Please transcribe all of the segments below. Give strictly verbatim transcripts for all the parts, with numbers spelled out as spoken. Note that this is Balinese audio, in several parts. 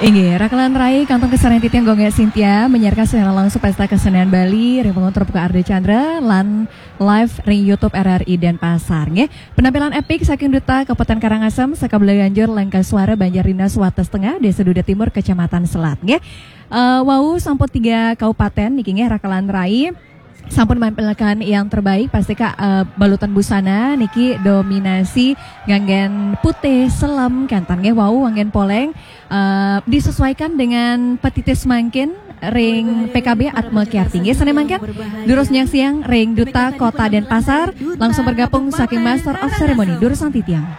Inggih, rakelan rai kantun kasarenggan titiang Gung Sintia menyiarkan siaran langsung Pesta Kesenian Bali ring panggung terbuka Ardha Candra lan live ring YouTube R R I Denpasar nggih. Penampilan epik saking Duta Kabupaten Karangasem, Sakabela Ganjur, Lengkasuara, Banjar Dinas, Wates Tengah, Desa Duda Timur, Kecamatan Selat nggih. Eh, wau sampun tiga kabupaten niki nggih rakelan rai. Sampun menampilkan yang terbaik, pasti Kak, eh, balutan busana niki dominasi nganggen putih selem, kenten nggih wau nganggen poleng, eh, disesuaikan dengan petitis mangkin ring P K B Atma Kiarti nggih. Sane mangkin durus nyaksiang ring Duta Kota Denpasar, langsung bergabung saking Master of Ceremony, durus titiang.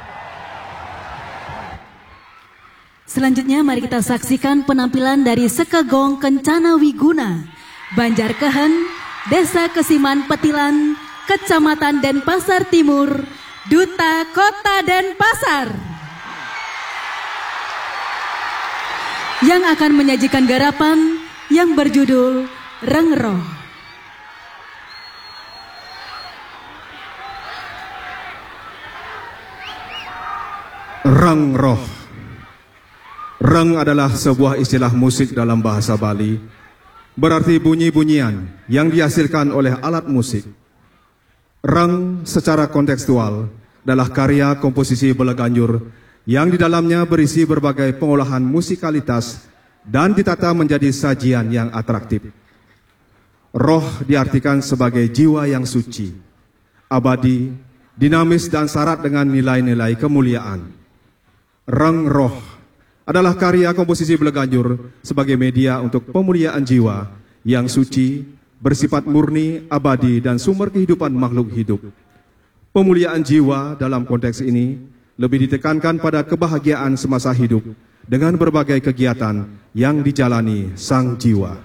Selanjutnya, mari kita saksikan penampilan dari Sekegong Kencana Wiguna, Banjar Kehen, Desa Kesiman Petilan, Kecamatan Denpasar Timur, Duta Kota Denpasar, yang akan menyajikan garapan yang berjudul Rengroh. Rengroh. Reng adalah sebuah istilah musik dalam bahasa Bali, berarti bunyi-bunyian yang dihasilkan oleh alat musik. Reng secara kontekstual adalah karya komposisi Bela Ganjur yang di dalamnya berisi berbagai pengolahan musikalitas dan ditata menjadi sajian yang atraktif. Roh diartikan sebagai jiwa yang suci, abadi, dinamis, dan syarat dengan nilai-nilai kemuliaan. Reng Roh adalah karya komposisi Bela Ganjur sebagai media untuk pemuliaan jiwa yang suci, bersifat murni, abadi, dan sumber kehidupan makhluk hidup. Pemuliaan jiwa dalam konteks ini lebih ditekankan pada kebahagiaan semasa hidup dengan berbagai kegiatan yang dijalani sang jiwa.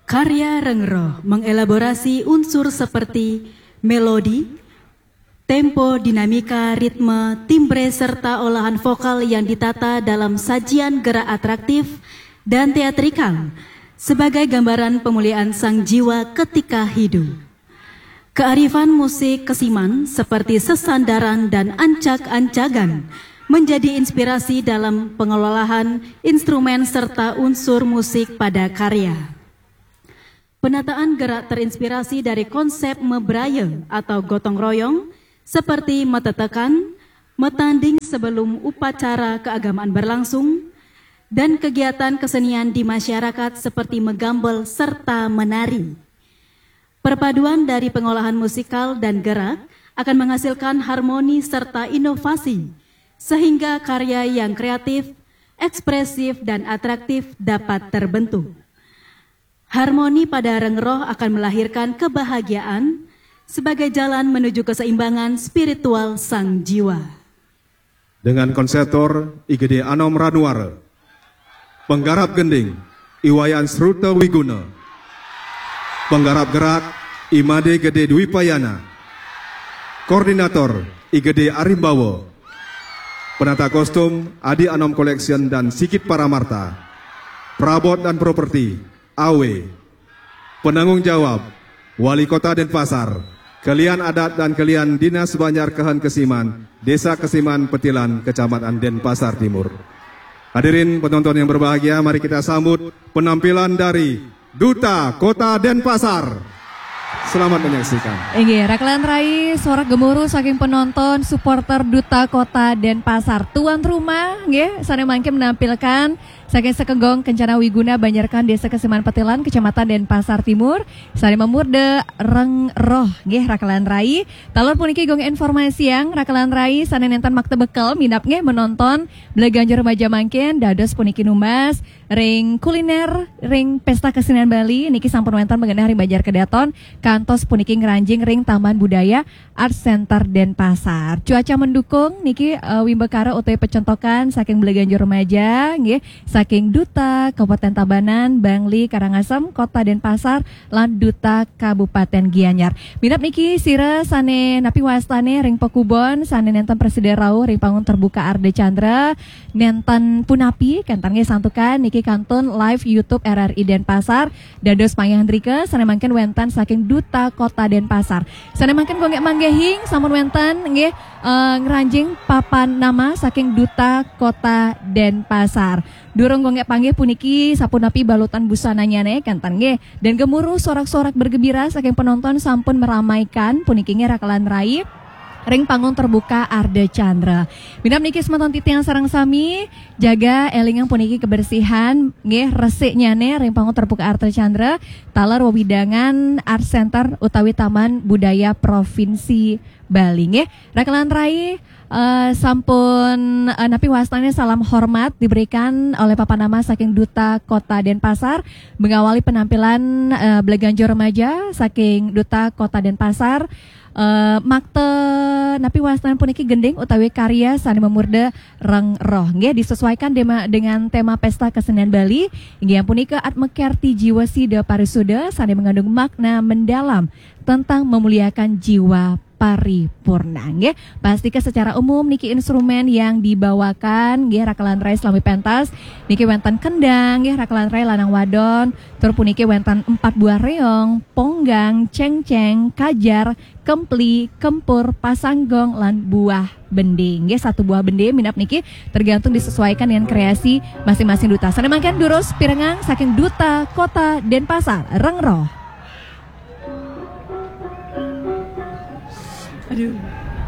Karya Reng Roh mengelaborasi unsur seperti melodi, tempo, dinamika, ritme, timbre, serta olahan vokal yang ditata dalam sajian gerak atraktif dan teatrikal sebagai gambaran pemuliaan sang jiwa ketika hidup. Kearifan musik Kesiman seperti sesandaran dan ancak-ancagan menjadi inspirasi dalam pengelolaan instrumen serta unsur musik pada karya. Penataan gerak terinspirasi dari konsep mebraya atau gotong royong, seperti metetekan, metanding sebelum upacara keagamaan berlangsung, dan kegiatan kesenian di masyarakat seperti megambel serta menari. Perpaduan dari pengolahan musikal dan gerak akan menghasilkan harmoni serta inovasi, sehingga karya yang kreatif, ekspresif, dan atraktif dapat terbentuk. Harmoni pada Reng Roh akan melahirkan kebahagiaan sebagai jalan menuju keseimbangan spiritual sang jiwa. Dengan konseptor I G D Anom Ranuara, penggarap gending I Wayan Sruta Wiguna, penggarap gerak I Made Gede Dwipayana, koordinator I G D Arimbawa, penata kostum Adi Anom Collection dan Sigit Paramarta, perabot dan properti A W, penanggung jawab Wali Kota Denpasar, kelian adat dan kelian Dinas Banjar Kehen Kesiman, Desa Kesiman Petilan, Kecamatan Denpasar Timur. Hadirin penonton yang berbahagia, mari kita sambut penampilan dari Duta Kota Denpasar. Selamat menyaksikan. Inggih, rakelan rai, sorak gemuruh saking penonton, supporter Duta Kota Denpasar. Tuan rumah, nggih, sane mangkin menampilkan saking Sekegong Kencana Wiguna, Banjar Kehen, Desa Kesiman Petilan, Kecamatan Denpasar Timur, sane mamurda Reng Roh, nggih, rakelan rai. Taler puniki Gung informasiang rakelan rai sane nenten makta bekel minab nggih menonton Bela Ganjur Remaja mangkin, dados puniki numbas ring kuliner ring Pesta Kesenian Bali niki sampun wenten magenah ring Banjar Kedaton kantos puniki ngranjing ring Taman Budaya Art Center Denpasar. Cuaca mendukung niki, eh, wimbakara utawi pecentokan saking Bela Ganjur Remaja nggih, saking Duta Kabupaten Tabanan, Bangli, Karangasem, Kota Denpasar, lan Duta Kabupaten Gianyar. Minab niki sira sane napi wastane ring pakubon sane nenten prasida rauh ring panggung terbuka Ardha Candra, nenten punapi, kenten nggih santukan niki kantun live YouTube R R I Denpasar, dados pangandika sane mangkin wenten saking Duta Kota Denpasar. Sane mangkin kangge manggehing sampun wenten nggih, eh, ngranjing papan nama saking Duta Kota Denpasar. Durung gonggek panggih puniki sapunapi balutan busananya ne, kanten nggih. Dan gemuruh sorak-sorak bergembira saking penonton sampun meramaikan puniki nggih rakelan rai ring panggung terbuka Ardha Candra. Minab niki semeton titiang sareng sami, jaga elingang puniki kebersihan nggih, resiknya ne ring panggung terbuka Ardha Candra, taler wewidangan Art Center utawi Taman Budaya Provinsi Bali nggih. Rakelan rai eh, sampun eh, napi wastane salam hormat diberikan oleh papan nama saking Duta Kota Denpasar mengawali penampilan eh, Bleganjo Remaja saking Duta Kota Denpasar. Eh, makta napi wastane puniki gending utawi karya sane memurda Reng Roh nggih, disesuaikan dema, dengan tema Pesta Kesenian Bali inggih punika Atma Kerti Jiwa Sida Parisuda sane mengandung makna mendalam tentang memuliakan jiwa paripurna nggih. Pastika secara umum niki instrumen yang dibawakan nggih rakelan rai selami pentas niki wenten kendang nggih rakelan rai lanang wadon, tur puniki wenten empat buah reong, ponggang, cengceng, kajar, kempli, kempur, pasanggong, lan buah bende. Nggih, satu buah bende minab niki tergantung disesuaikan dengan kreasi masing-masing duta. Sane mangkin durus pirengang saking Duta Kota Denpasar, Reng Roh. Aduh.